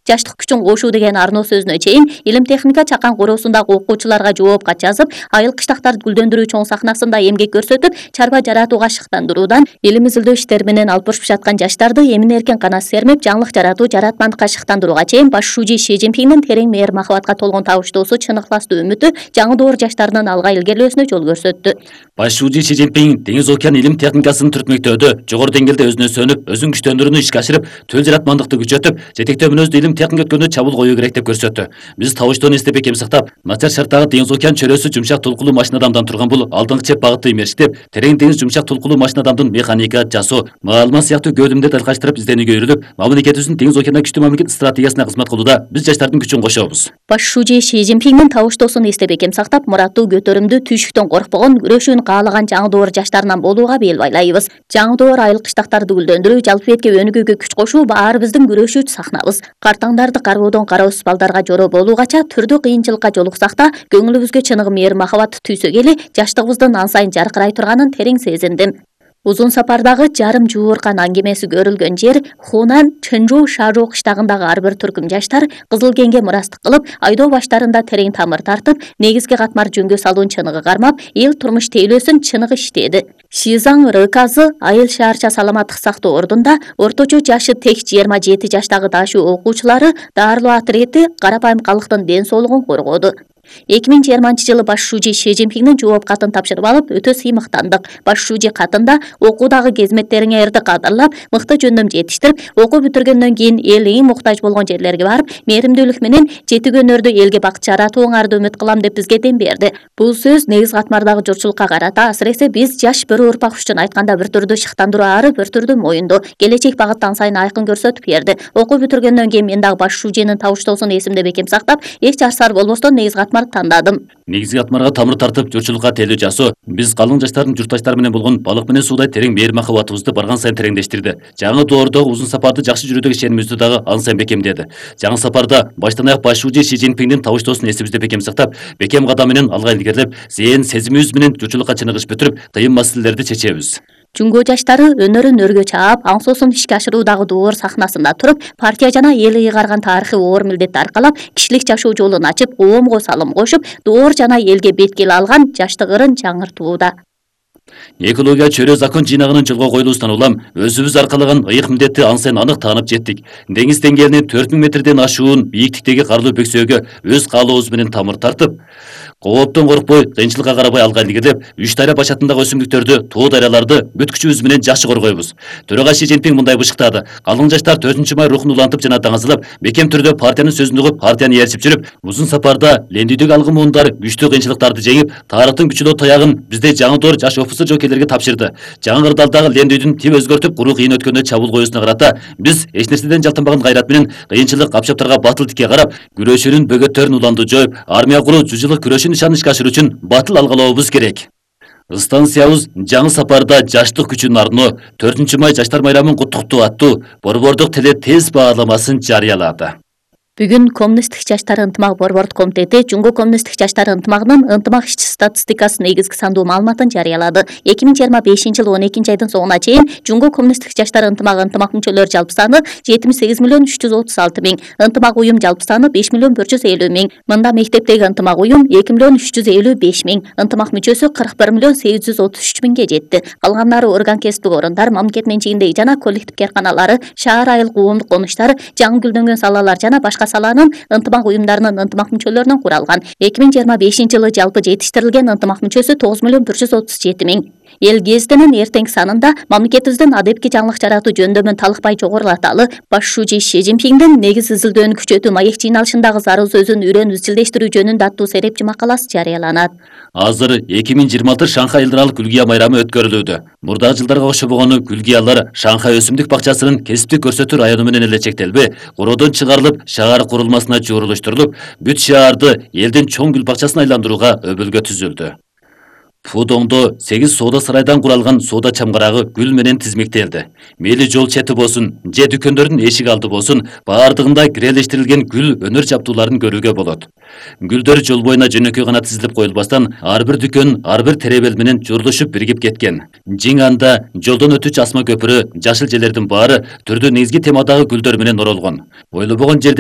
жаштык күчүн кошуу деген арноо сөзүнө чейин илим техника чакан короосундагы окуучуларга жооп кат жазып, айыл кыштактарды гүлдөндүрүү чоң сахнасында эмгек көрсөтүп, чарба жаратууга шыктандыруудан, илим изилдөө иштери менен алып урушуп жаткан жаштарды эмин-эркен канат сермеп, жаңылык жаратуу, жаратмандыкка шыктандырууга чейин баш шужи Си Цзиньпиндин терең мээр махабатка толгон табыштоосу, чыныктастуу үмүтү жаңы доор жаштарынын алга илгерилөөсүнө жол көрсөттү. Баш шужи Си Цзиньпин Деңиз океан илим техникасын түртмөктөөдө жогору деңгээлде өзүнө сөнүп, өзүнүн күчтөндөрүнү ишке ашырып, төл жаратмандыкты күчөтүп, жетектөө мүнөздүү илим техника өткөнү чабуул коюу керек деп көрсөттү. Биз табыштоону эстеп эми сактап, начар шарттагы Деңиз океан чөлөөсү жумшак толкулуу машина адамдан турган бул алдыңкы чеп багытты имерчтеп, терең деңиз жумшак толкулуу машина адамдын механика, жасоо, маалымат сыяктуу көөдүмдөрдү алкаштырып изденүүгө үйрүлүп, мамлекетибиздин Деңиз океанда күчтүү мамлекет стратегиясына кызмат кылууда биз жаштардын күчүн кошобуз. Баш шужи Си Цзиньпиндин табыштоосун эстеп эми сактап, мураттуу, көтөрүмдүү, түйшүктөн коркпогон, күрөшүүнү каалаган жаңы доор жаштарынан болууга бел байлайбыз. Жаңы доор айыл кыштактарды гүлдөндүрүү, жалпы бетке өнүгүүгө күч кошуу баарыбыздын күрөшүүчү сахнабыз. Картаңдарды кароодон кароосуз балдарга жороо болуугача түрдүү кыйынчылыкка жолуксак да, көңүлүбүзгө чыныгы мээр махабат түйсө кели, жаштыгыбыздын ан сайын жаркырай турганын терең сезиндим. Узун сапардагы жарым жууркан аңгемеси көрүлгөн жер Хунан Чынжу Шажу кыштагындагы ар бир түркүм жаштар кызыл кеңге мурастык кылып, айдоо баштарында терең тамыр тартып, негизги катмар жөнгө салуун чыныгы кармап, эл турмуш тейлөөсүн чыныгы иштеди. Шизаң РКсы айыл шаарча саламаттык сактоо ордунда орточо жашы тек 27 жаштагы дашуу окуучулары дарылоо отрети карапайым калктын ден соолугун коргоду. 2020-жылы баш шужи Си Цзиньпиндин жооп катын тапшырып алып, өтө сыймыктандык. Баш шужи катында окуудагы кезметтериңерди кадырлап, мыкты жөндөм жетиштирип, окуу бүтүргөндөн кийин эл эң муктаж болгон жерлерге барып, мээримдүүлүк менен жети көнөрдү элге бакыт жаратууңарды үмүт кылам деп бизге дем берди. Бул сөз негиз катмардагы журтчулукка карата, асыресе биз жаш бир урпак үчүн айтканда бир түрдүү шыктандыруу ары, бир түрдүү моюндуу, келечек багыттан сайын айкын көрсөтүп берди. Окуу бүтүргөндөн кийин мен дагы баш шужинин табыштоосун эсимде бекем сактап, эч арсар болбостон негиз тандадым. Негизги катмарга тамыр тартып, журтчулукка тейлөө жасоо биз калың жаштардын журтташтары менен болгон балык менен суудай терең мээр махабатыбызды барган сайын тереңдештирди. Жаңы доордогу узун сапарды жакшы жүрүүдөгү ишенимибизди дагы ан сайын бекемдеди. Жаңы сапарда баштан аяк баш шужи Си Цзиньпиндин табыштоосун эсибизде бекем сактап, бекем кадам менен алга илгерилеп, зээн сезимибиз менен журтчулукка чыныгыш бүтүрүп, кыйын маселелерди чечебиз. Жуңго жаштары өнөрүн өргө чаап, аңсоосун ишке ашыруудагы доор сахнасында туруп, партия жана эл ыйгарган тарыхый оор милдетти аркалап, кишилик жашоо жолун ачып, оомго салым кошуп, доор жана элге беткел алган жаштык ырын жаңыртууда. Экология чөйрө закон жыйнагынын жолго коюлуусунан улам өзүбүз аркалаган ыйык милдетти ан сайын анык таанып жеттик. Деңиз деңгээлинин 4000 метрден ашуун бийиктиктеги карлуу бөксөөгө өз каалообуз менен тамыр тартып, кооптон коркпой, кыйынчылыкка карабай алга илгерилеп, үч дарыя башатындагы өсүмдүктөрдү, тоо даряларды бүт күчүбүз менен жакшы коргойбуз. Төрага Си Цзиньпин мындай бышыктады: калың жаштар 4 май рухун улантып жана даңазалап, бекем түрдө партиянын сөзүн угуп, партияны ээрчип жүрүп, узун сапарда лендүүдөгү алгы муундар күчтүү кыйынчылыктарды жеңип, тарыхтын күчүнө таягын бизде жаңы доор жаш офицер жокейлерге тапшырды. Жаңы кырдаалдагы лендүүдүн тип өзгөртүп, куру кыйын өткөндө чабуул коюусуна карата биз эч нерседен жалтанбаган кайрат менен кыйынчылык капчаптарга батыл тикке карап, күрөшүүнүн бөгөттөрүн уланды жоюп, армия куруу 100 жылдык күрөшүн ишанын ишке ашыруу үчүн батыл алгалообуз керек. Станциябыз жаңы сапарда жаштык күчүн арноо 4 май жаштар майрамын куттуктоо аттуу борбордук теле тез бааламасын жарыялады. Бүгүн Коммунисттик жаштар ынтымак борбордук комитети Жуңго коммунисттик жаштар ынтымагынын ынтымак ишчи статистикасынын негизги сандуу маалыматын жарыялады. 2025-жылы 12-айдын соңуна чейин Жуңго коммунисттик жаштар ынтымак мүчөлөр жалпы саны 78.336.000, ынтымак уюм жалпы саны 5.150.000. Мында мектептеги ынтымак уюм 2.355.000, ынтымак мүчөсү 41.833.000ге жетти. Калгандары орган кесиптик орундар, мамлекет менчигиндеги жана коллектив кээрканалары, шаар айыл коомдук конуштар, жаңы гүлдөнгөн салалар жана башка саланын ынтымак уюмдарынын ынтымак мүчөлөрүнөн куралган. 2025-жылы жалпы жетиштирилген ынтымак мүчөсү 9.137.000. Эл гезитинин эртеңки санында мамлекетибиздин адепки жаңылык жаратуу жөндөмүн талыкпай жогорулаталы, баш шужи Си Цзиньпиндин негиз изилдөөнү күчөтүү маек жыйналышындагы зарыл сөзүн үрөн изчилдештирүү жөнүндө аттуу серепчи макаласы жарыяланат. Азыр 2026 Шанхай элдералык күлгия майрамы өткөрүлүүдө. Мурдагы жылдарга окшобогону күлгиялар Шанхай өсүмдүк бакчасынын кесиптик көрсөтүү району менен эле чектелбей, короодон чыгарылып, шаар курулмасына жуурулуштурулуп, бүт шаарды элдин чоң гүл бакчасына айландырууга өбөлгө түзүлдү. Пудоңдо 8 соода сарайдан куралган соода чамгарагы гүл менен тизмектелди. Мейли жол чети болсун, же дүкөндөрдүн эшик алды болсун, баардыгында кирелештирилген гүл өнөр жабдууларын көрүүгө болот. Гүлдөр жол боюна жөнөкөй гана тизилип коюлбастан, ар бир дүкөн, ар бир теребел менен журулушуп биригип кеткен. Жиңанда жолдон өтүүчү асма көпүрө, жашыл жерлердин баары түрдүү негизги темадагы гүлдөр менен оролгон. Ойлобогон жерде